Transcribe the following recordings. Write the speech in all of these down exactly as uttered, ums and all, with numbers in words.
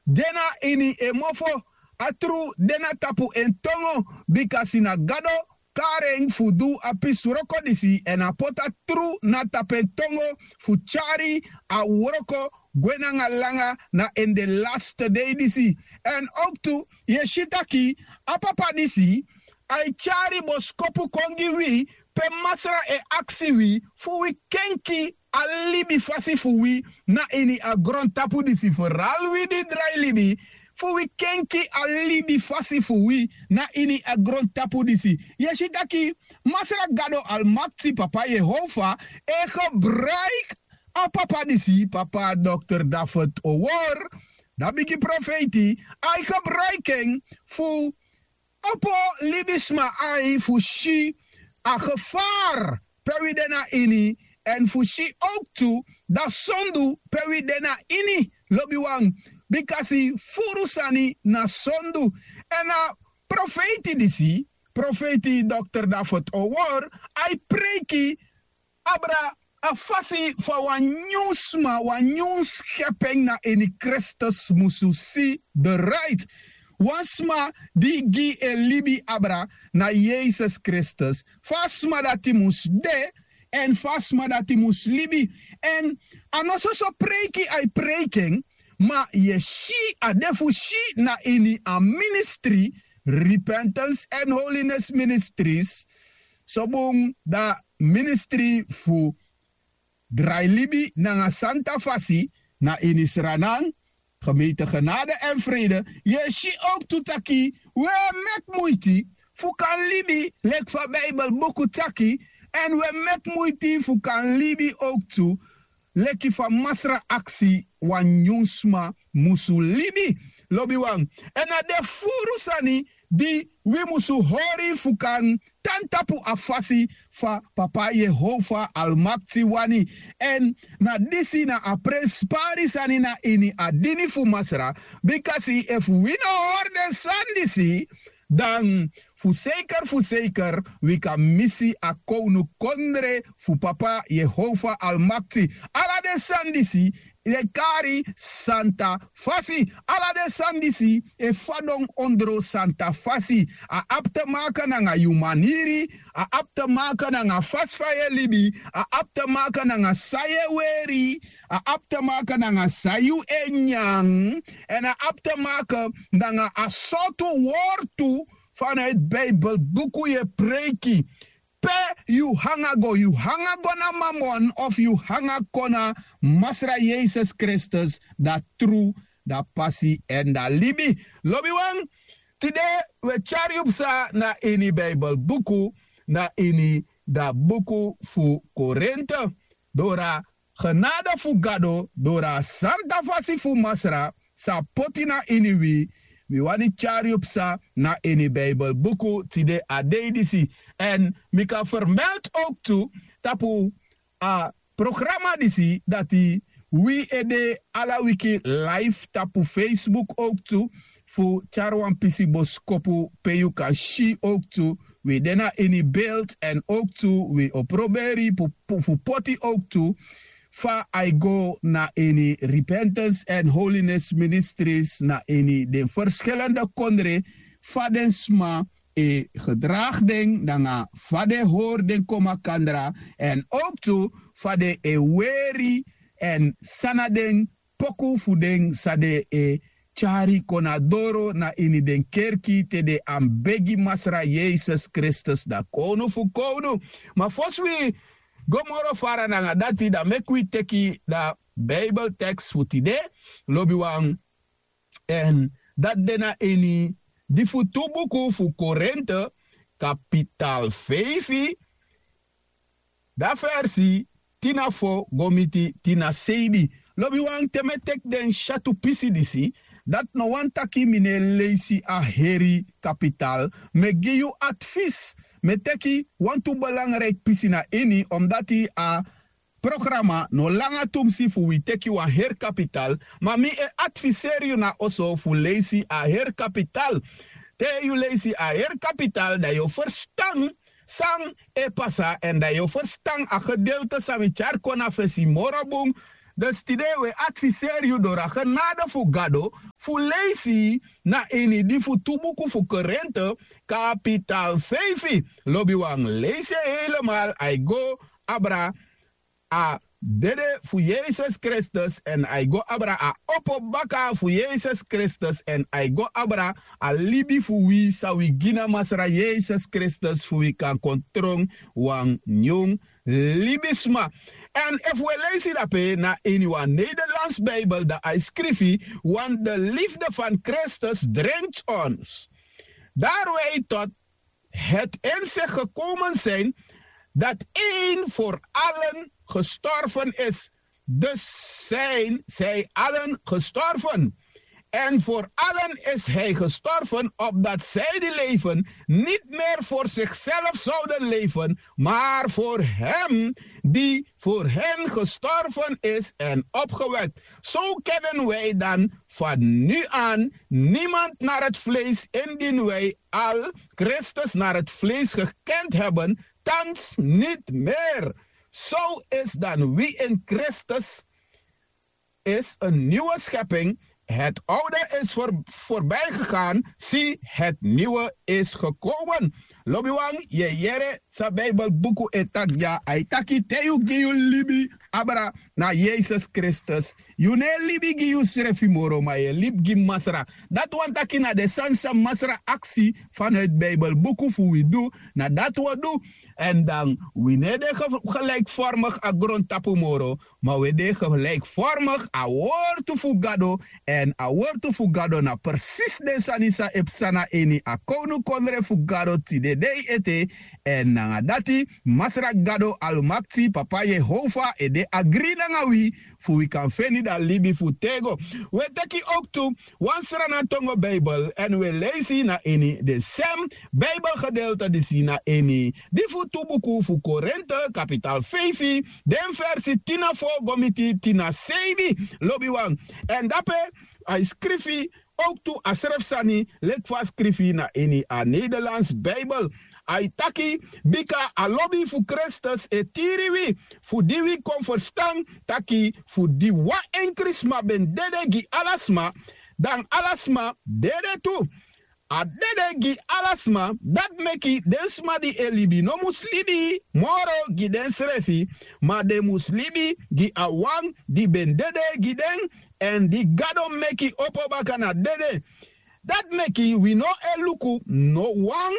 de na ini en mofo, a tru de na tapu en tongo, bika si na Gado kari en fu du a pisi wroko disi, èn a poti a tru na tapu en tongo fu tyari a wroko gwe nanga langa na ini den laste dei disi. Èn owktu yu e si taki a papa disi, a e tyari boskopu kon gi wi, pe Masra e aksi wi fu wi kenki a libi fasi fu wi na ini a grontapu disi, foral wi di drai libi, fu wi kenki a libi fasi fu wi na ini a grontapu disi. Yu e si taki Masra Gado Almakti, Papa Yehova, e gebruiki a papa disi, Papa Dokter David Owor, da bigi profeiti, a e gebruiki en fu opo libisma ai fu si a gevaar pe wi de na ini, èn fu si owktu da sondu pe wi de na ini, lobiwan, bikasi furu sani na sondu. Èn a profeiti disi, profeiti Dokter David Owor, a e preiki abra a fasi fa wan nyun sma, wan nyun skepen na ini Kristus musu si de rait. Wan sma di gi en libi abra na Yesus Kristus, fa a sma dati mus de, èn fa a sma dati mus libi. Èn a no soso preiki a e preiki en, ma yu e si a de fu si na ini a ministri, Repentance and Holiness Ministries, so bun da ministri fu drai libi nanga santa fasi na ini Sranan, gemeente Genade en Vrede. Yu e si owktu taki wi e meki muiti fu kan libi leki fa Bijbel buku taki, èn wi e meki muiti fu kan libi owktu leki fa Masra aksi wan nyun sma musu libi. Lobiwan, èn a de furu sani di wi musu hori fu kan tan tapu a fasi fa Papa Yehova Almakti wani. Èn na disi na a prenspari sani na ini a dini fu Masra, bikasi efu wi no hori den sani disi, dan fu seker, fu seker, wi kan misi a kownukondre fu Papa Yehova Almakti. Ala den sani disi e kari santa fasi. Ala den sani disi e fadon ondro santa fasi. A abi te maka nanga yu maniri, a abi te maka nanga fasi fa yu e libi, a abi te maka nanga san yu e weri, a abi te maka nanga san yu e nyan, èn a abi te maka nanga a sortu wortu fa na yu Bijbel buku yu e preiki. Pe yu hanga go, yu hanga go na Mamon of yu hanga kon na Masra Yesus Kristus, da tru, da pasi èn da libi. Lobiwan, tide wi e tyari yu psa na ini Bijbel buku, na ini da buku fu Korinte, dora genade fu Gado, dora santa fasi fu Masra, sa poti na ini wi, wi wani tyari yu psa na ini Bijbel buku tide a dei disi. Èn mi kan fermelti owktu tapu a programa disi dati wi e de ala wiki live tapu Facebook owktu, fu tyari wan pisi boskopu pe yu kan si owktu wi de na ini beeld, èn owktu wi o proberi pu- pu- fu poti owktu fa a e go na ini Repentance and Holiness Ministries na ini den ferskilende kondre, fa den sma e gedragi den nanga fa den hori den kon makandra, èn owktu fa den e weri, èn san na den poku fu den san den e tyari kon na doro na ini den kerki te den anbegi Masra Yesus Kristus, da kownu fu kownu. Ma fosi wi go moro fara nanga dati, da meki wi teki da Bijbel teks fu tide, lobiwan, èn dati de na ini di fu tu buku fu Korinte, kapital feifi, da versi tin na fo go miti tin na seibi. Lobiwan, te mi e teki den syatu pisi disi, dati no wani taki mi no e leisi a heri kapital. Mi e gi yu advis, mi e teki wantu belangrijk pisi na ini, omdati a programa no langa tumsi fu wi teki wan heri kapital, ma mi e adviseri yu na oso fu leisi a heri kapital. Te yu leisi a heri kapital, da yu o ferstan san e pasa, èn da yu o ferstan a gedeelte san mi tyari kon na fesi moro bun. Dus tide wi e adviseri yu doro a genade fu gado fu leisi na ini di fu tu buku fu korente kapital feifi. Lobiwan, leisi en helemal, a e go abra a dede fu yesus kristus èn a e go abra a opo baka fu yesus kristus èn a e go abra a libi fu wi san wi gi na masra yesus kristus fu wi kan kon tron wan nyun libisma. Èn efu wi e leisi dape na ini wan nederlands bijbel dan a e skrifi, want de liefde van kristus dringt ons daar wij tot het inzicht gekomen zijn dat een voor allen gestorven is. Dus zijn zij allen gestorven. En voor allen is hij gestorven, opdat zij die leven niet meer voor zichzelf zouden leven, maar voor hem die voor hen gestorven is en opgewekt. Zo kennen wij dan van nu aan niemand naar het vlees, indien wij al Christus naar het vlees gekend hebben, thans niet meer. Zo is dan wie in Christus is een nieuwe schepping. Het oude is voor, voorbij gegaan. Zie, het nieuwe is gekomen. Lobiwan, ye yere sa Bijbel buku e taki dya, a e taki te yu gi yu libi abra na Yesus Kristus. Yu no e libi gi yusrefi moro, ma yu e libi gi Masra. Dati wani taki na den sani san Masra aksi vanuit Bijbel buku fu wi du, na dati wi o du. Èn dan wi no e de ge- gelijkvormig a grontapu moro, ma wi e de gelijkvormig a wortu fu Gado. Èn a wortu fu Gado na presis den sani san e psa na ini a kownukondre fu Gado tide dei ete. Èn nanga dati Masra Gado Almakti, Papa Yehova, e de agri nanga wi fu wi kan feni dan libi fu tego. Wi e teki owktu wan srana tongo Bijbel èn wi e leisi na ini den sem Bijbelgedeelte disi na ini di fu tu buku fu Korinte, kapital feifi, den versi tin na fo go miti tin na seibi. Lobiwan, èn dape a e skrifi owktu a srefi sani leki fa a skrifi na ini a Nederlands Bijbel. A e taki, bika a lobi fu Kristus e tiri wi, fu di wi kon ferstan taki fu di wan enkri sma ben dede gi ala sma, dan ala sma dede tu. A dede gi ala sma, dati meki den sma di e libi no mus libi moro gi densrefi, ma den mus libi gi a wan di ben dede gi den, èn di Gado meki opo baka na dede. Dati meki wi no e luku no wan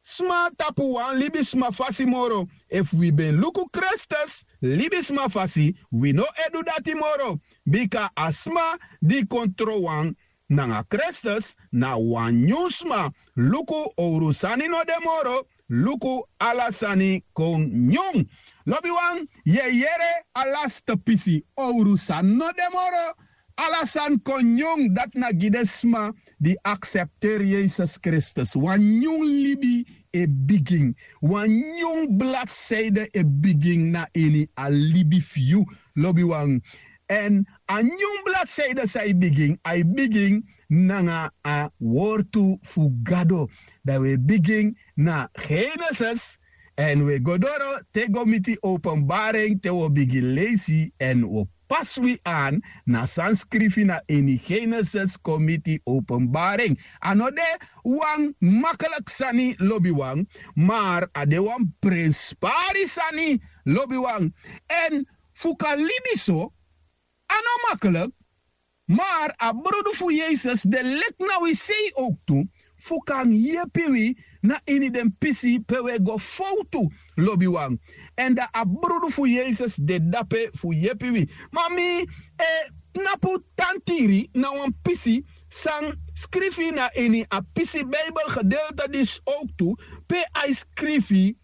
sma tapu wan libisma fasi moro. Efu wi ben luku Kristus libisma fasi, wi no e du dati moro. Bika a sma di kon tron wan nanga Kristus na wan nyun sma. Luku, owru sani no de moro. Luku, ala sani kon nyun. Lobiwan, yu e yere a laste pisi, owru sani no de moro. Ala sani kon nyun. Dati na gi den sma di aksepteri Yesus Kristus. Wan nyun libi e bigin. Wan nyun bladseide e bigin na ini a libi fu yu, lobiwan. Èn a nyun bladseide san e bigin, a e bigin nanga a wortu fu Gado. Dan wi e bigin na Genesis èn wi e go doro te go miti Openbaring, te wi o bigin leisi èn wi o pasi wi an na san skrifi na ini Genesis kon miti Openbaring. A no de wan makliki sani, lobiwan, mar a de wan prenspari sani, lobiwan. Èn fu kan libi so, a no makliki. Mar a brudu fu Yesus de leki na wi sei owktu fu kan yepi wi na ini den pisi pe wi e go fowtu, lobiwan. Èn dan a brudu fu Yesus de dape fu yepi wi. Ma mi e tnapu tan tiri na wan pisi san skrifi na ini a pisi Bijbelgedeelte disi owktu, pe a e skrifi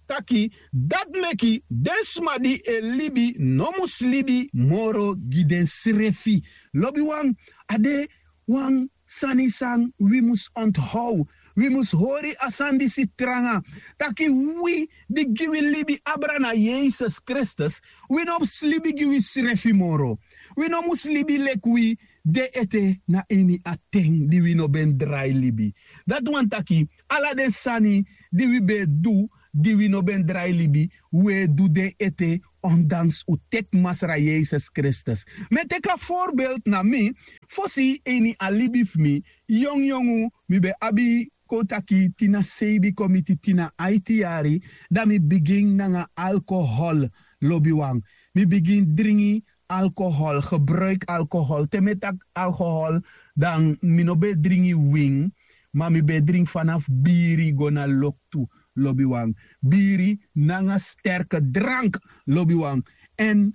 taki, dati meki den sma di e libi no mus libi moro gi densrefi. Lobiwan, a de wan sani san wi mus onthow. Wi mus hori a sani disi tranga, taki wi di gi wi libi abra na Yesus Kristus, wi no mus libi gi wisrefi moro. Wi no mus libi leki wi de ete na ini a ten di wi no ben drai libi. Dati wani taki ala den sani di wi ben e du di wi no ben drai libi, wi e du den ete Ondanks un teki Masra Yesus Kristus. Mi e teki a voorbeeld na mi, fosi ini a libi fu mi, yongyongu mi ben abi kon taki tina seibi kon miti tina aiti yari, dan mi bigin nanga alcohol, lobiwan. Mi bigin dringi alcohol, gebruik alcohol. Te mi e taki alcohol, dan mi no ben e dringi win, ma mi ben e dringi fanafu biri go na loktu, lobiwan. Biri nanga sterke drank, lobiwan. Èn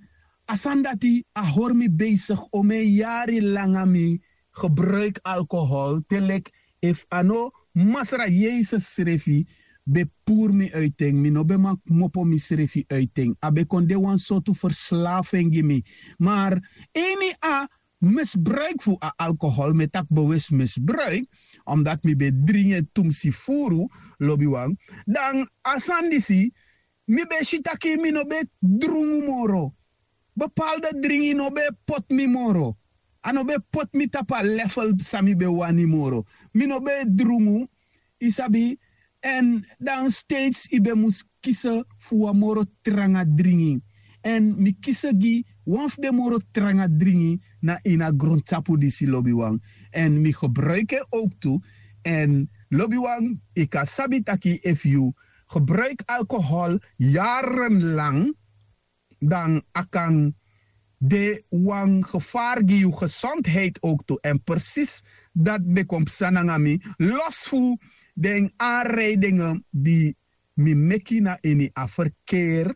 a sani dati a hori mi besigi omeni yari langa mi gebruik alcohol, te leki efu a no Masra Yesus srefi ben puru mi uiten, mi no ben man kmopo misrefi uiten. A ben kon de wan sortu verslaving gi mi. Maar ini a misbruik fu a alcohol, mi e taki bewust misbruik, omdat mi ben dringi en tumsi furu, lobiwan, dan a sani disi mi ben si taki mi no ben drungu moro. Bepaalde dringi no ben poti mi moro. A no ben poti mi tapu a level san mi ben wani moro. Mi no ben drungu, yu sabi. Èn dan steeds yu ben mus kisi fu wan moro tranga dringi. Èn mi kisi gi wan fu den moro tranga dringi na ini a grontapu disi, lobiwan. Èn mi gebruik en owktu. Èn lobiwan, yu kan sabi taki efu yu gebruik alcohol yarenlang, dan a kan de wan gevaar gi yu gezondheid owktu. Èn presis dati ben kon psa nanga mi, los fu den aanrijdingen di mi meki na ini a verkeer,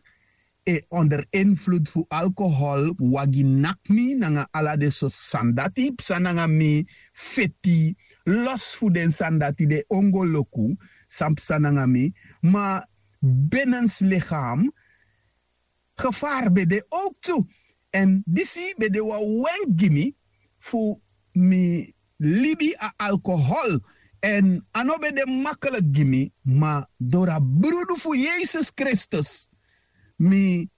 e onder invloed fu alcohol, wagi naki mi nanga ala den sortu sani dati psa nanga mi, feti, los fu den sani dati, den ongoloku san psa nanga mi, ma benens lichaam gevaar ben de owktu. Èn disi ben de wan wenk gi mi fu mi libi a alcohol. Èn a no ben de makkelijk gi mi, ma dori a brudu fu Yesus Kristus mi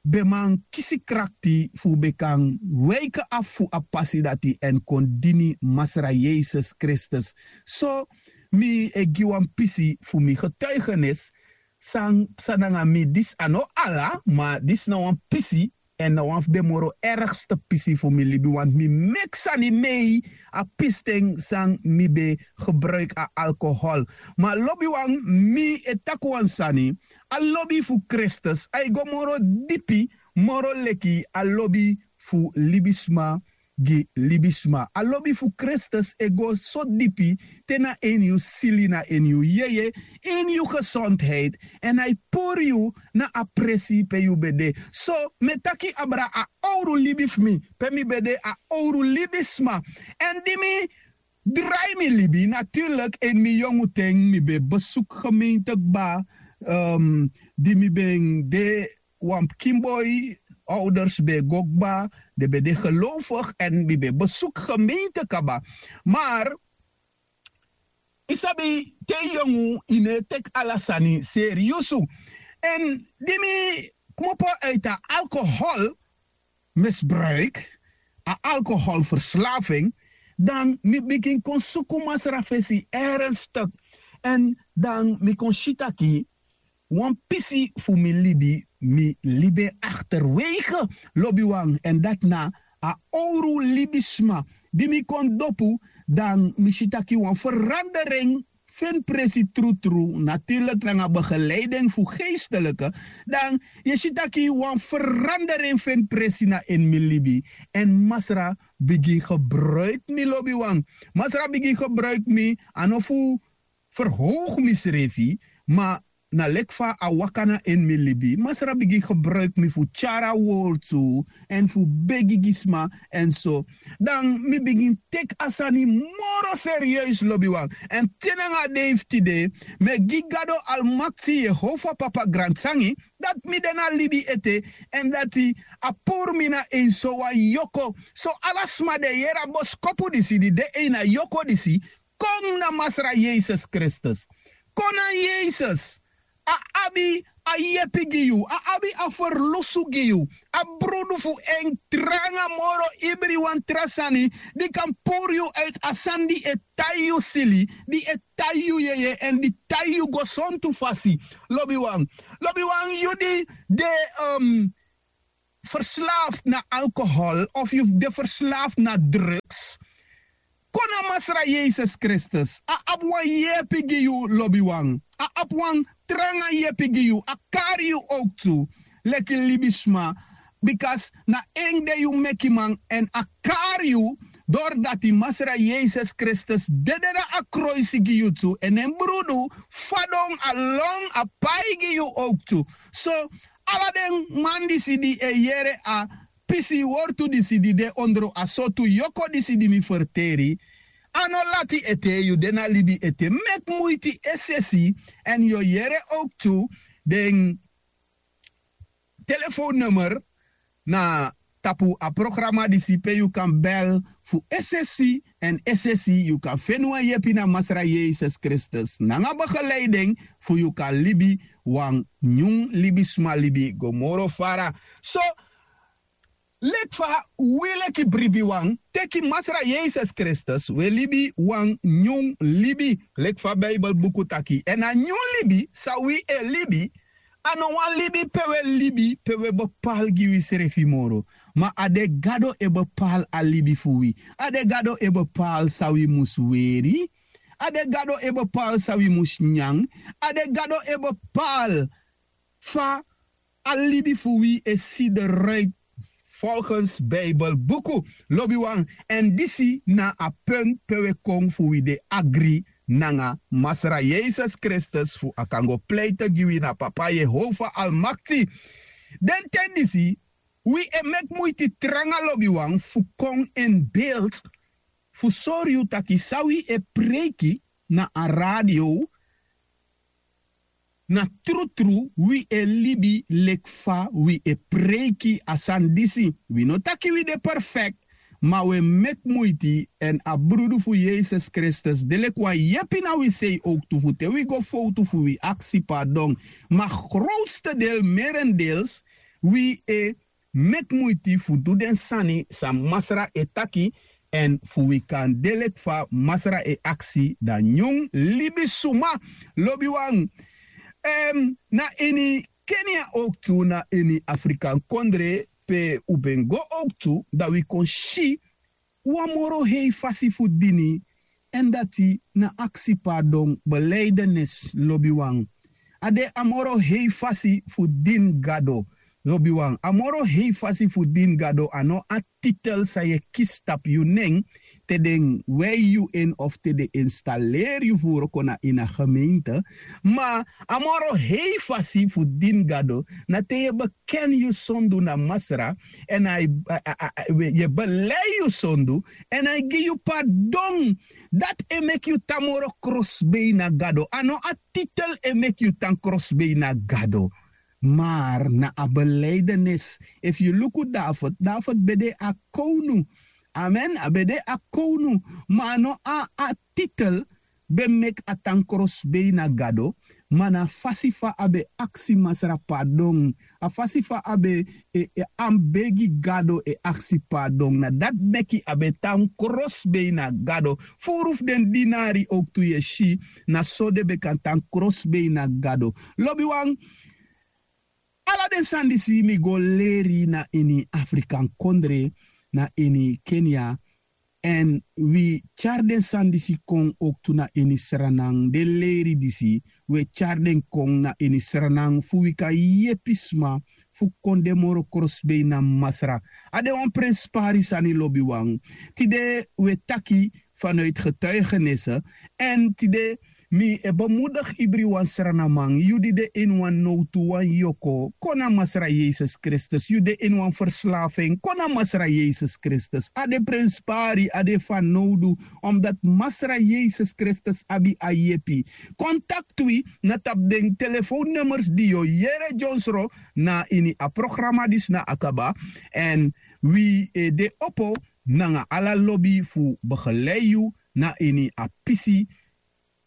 ben man kisi krakti fu ben kan wiki afu fu a pasi dati èn kon dini Masra Yesus Kristus. So mi e gi wan pisi fu mi getuigenis san psa nanga mi, disi a no ala, ma disi na wan pisi, èn na wan fu den moro ergste pisi fu mi libi, want mi meki sani mei a pisten san mi ben gebruik a alcohol. Ma lobiwan, mi e taki wan sani, a lobi fu Kristus a e go moro dipi moro leki a lobi fu libisma gi libisma. A lobi fu Kristus e go so dipi te na ini yu sili, na ini yu yeye, ini yu gezondheid, èn a e puru yu na a presi pe yu ben de. So mi e taki abra a owru libi fu mi, pe mi ben de a owru libisma. Èn di mi drai mi libi, natuurlijk, in mi yongu ten mi ben besuku gemeente kba, um, di mi ben de wan pikin boi, ouders ben go kba, den ben de gelovig èn mi ben besuku gemeente kaba. Maar yu sabi, te yu yongu yu no e teki ala sani seriusu. Èn di mi kmopo uit a alcohol misbruik, a alcoholverslaving, dan mi bigin kon suku Masra fesi ernstig. Èn dan mi kon si taki wan pisi fu mi libi, mi libi en achterwege, lobiwan, èn dati na a owru libisma. Di mi kon dopu, dan mi si taki wan verandering feni presi trutru, natuurlijk nanga begeleiding fu geestelijke, dan yu e si taki wan verandering feni presi na ini mi libi. Èn Masra bigin gebruik mi, lobiwan. Masra bigin gebruik mi, a no fu verhoog misrefi, ma na leki fa a waka na ini mi libi, Masra bigin gebruik mi fu tyari a wortu èn fu begi gi sma èn so. Dan mi bigin teki a sani moro serieus, lobiwan. Èn te nanga a dei fu tide, mi e gi Gado Almakti, Yehova Papa, gransangi dati mi de na libi ete, èn dati a puru mi na ini sowan yoko. So ala sma di e yere a boskopu disi, di de ini a yoko disi, kon na Masra Yesus Kristus. Kon na Yesus. A abi a yepi gi yu, a abi a ferlusu gi yu. A brudu fu en tranga moro ibri wan tra sani di kan puru yu uit a sani di e tai yu sili, di e tai yu yeye èn di tai yu gesontu fasi. Lobiwan, Lobiwan, yu di de verslaaft na alkohol of yu de verslaaft na drugs, kon na Masra Yesus Kristus. A abi wan yepi gi yu, lobiwan. A abi wan tranga yepi gi yu. A kari yu owktu leki libisma. Bika na en de yu mekiman èn a kari yu. Dori dati Masra Yesus Kristus dede na a kroisi gi yu tu èn en brudu fadon a lon a pai gi yu owktu. So ala den man disi di e yere a pisi wortu disi di de ondro a sortu yoko disi di mi ferteri, a no lati ete, yu de na libi ete. Meki muiti esesi èn yu o yere owktu den telefoonnummer na tapu a programa disi pe yu kan bel fu esesi èn esesi yu kan feni wan yepi na Masra Yesus Kristus nanga begeleiding fu yu kan libi wan nyun libisma libi go moro fara. So leki fa wi leki bribiwan teki Masra Yesus Kristus, wi e libi wan nyun libi leki fa Bijbel buku taki. Èn a nyun libi san wi e libi, a no wan libi pe wi e libi pe wi e bepali gi wisrefi moro. Ma a de Gado e bepali a libi fu wi. A de Gado e bepali san wi mus weri. A de Gado e bepali san wi mus nyan. A de Gado e bepali fa a libi fu wi e si de ruit volgens Bijbel buku. Lobiwan, èn disi na a punt pe wi e kon fu wi de agri nanga Masra Yesus Kristus fu a kan go pleite gi wi na Papa Yehova Almakti. Den ten disi wi e meki muiti tranga, lobiwan, fu kon in beeld fu sori yu taki san wi e preiki na a radio, na trutru wi e libi leki fa wi e preiki a sani disi. Wi no taki wi de perfekti, ma wi e meki muiti èn a brudu fu Yesus Kristus de leki wan yepi na wi sei owktu fu te wi go fowtu fu wi aksi pardon. Ma growtste del, merendeels, wi e meki muiti fu du den sani san Masra e taki èn fu wi kan de leki fa Masra e aksi dan nyun libisuma. Lobiwan, na ini Kenia owktu, na ini Afrikan kondre pe un ben go owktu, dan wi kon si wan moro hei fasi fu dini. Èn dati na aksi pardon, beleidenis, lobiwan. A de a moro hei fasi fu dini Gado, lobiwan. A moro hei fasi fu dini Gado, a no a titel san yu e kisi tapu yu nen te den wei yu en of te den instaleri yu fu wroko na ini a gemeente. Ma a moro hei fasi fu dini Gado na te yu e beken yu sondu na Masra èn a e, yu e belei yu sondu èn a e gi yu pardon. Dati e meki yu tan moro krosbei na Gado. A no a titel e meki yu tan krosbei na Gado, mar na a beleidenis. Efu yu luku David, David ben de a kownu. Amen. A ben de a kownu, ma a no a a titel ben meki a tan krosbei na Gado. Ma na a fasi fa a ben aksi Masra pardon, a fasi fa a ben e, e, a mus begi Gado e aksi pardon, na dati meki a ben tan krosbei na Gado. Furu fu den dinari owktu yu e si, na so den ben kan tan krosbei na Gado. Lobiwan, ala den sani disi mi go leri na ini Afrikan kondre, na ini Kenia. Èn wi tyari den sani disi kon owktu na ini Sranan, den leri disi, wi e tyari den kon na ini Sranan fu wi kan yepi sma fu kon de moro krosbei na Masra. A de wan prenspari sani, lobiwan. Tide wi e taki vanuit getuigenisse. Èn tide mi e bemoedig ibriwan Sranaman, yu di de ini wan nowtu, wan yoko, kon na Masra Yesus Kristus. Yu de ini wan verslafing, kon na Masra Yesus Kristus. A de prenspari, a de fanowdu, omdat Masra Yesus Kristus abi a yepi. Kontakti wi na tapu den telefoonnummers di yu o yere dyonsro na ini a programa disi na a kaba. Èn wi e de opo nanga ala lobi fu begelei yu na ini a pisi,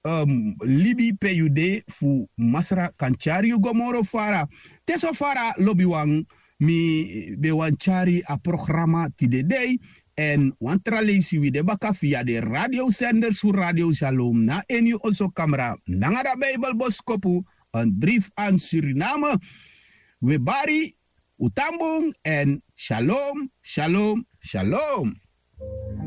um, libi pe yu de, fu Masra kan tyari yu go moro fara. Te so fara, lobiwan, mi ben wani tyari a programa tide dei. Èn wan tra leisi wi de baka via den radiosenders fu Radio Shalom na ini yu oso kamra nanga da Bijbelboskopu en dri fu an suriname. Wi e bari un tan bun èn shalom, shalom, shalom.